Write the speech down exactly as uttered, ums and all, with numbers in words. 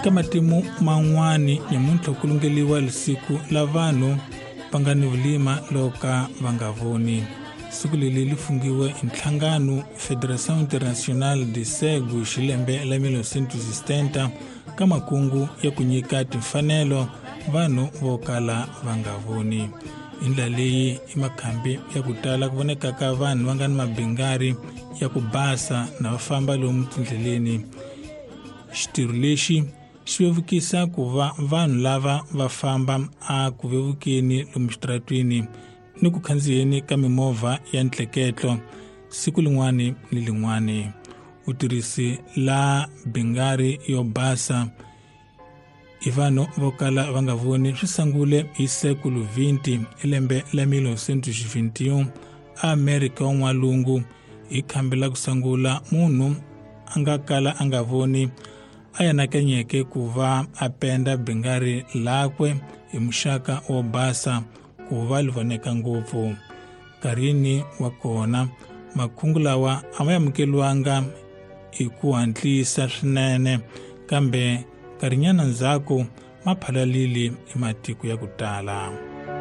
Ka matimu man'wani nyamuntlha ku lungeliwa lisiku la vanhu va nga ni vulima loka va nga voni. Siku leli li fungiwe hi nhlangano Federação Internacional de Cegos hi lembe la mil novecentos e setenta ka makungu ya ku nyika timfanelo vanhu vo kala va nga voni. Hi ndlela leyi i makhambi ya ku tala ku voneka ka vanhu va nga ni mabingari ya ku basa na va famba lomu tindleleni. Xitirho lexi xi vevukisa ku va vanhu lava va famba a ku vevukeni lomu xitaratwini ni ku khandziyeni ka mimovha ya ntleketlo siku lin'wani ni lin'wani. U tirhisi la bingari yo basa hi vanhu vo kala va nga voni swi sungule hi sekulu vhinte hi lembe la mil novecentos e vinte e um eAmerika wa N'walungu hi khambi la ku sungula munhu a nga kala a nga voni a anakanyeke ku va a penda bingari lakwe hi muxaka wo basa ku va li voneka ngopfu. Nkarhini wa kona makhungu lawa a ma amukeliwanga hi ku hatlisa swinene, kambe nkarhinyana ndzhaku ma phalalile hi matiko ya ku tala.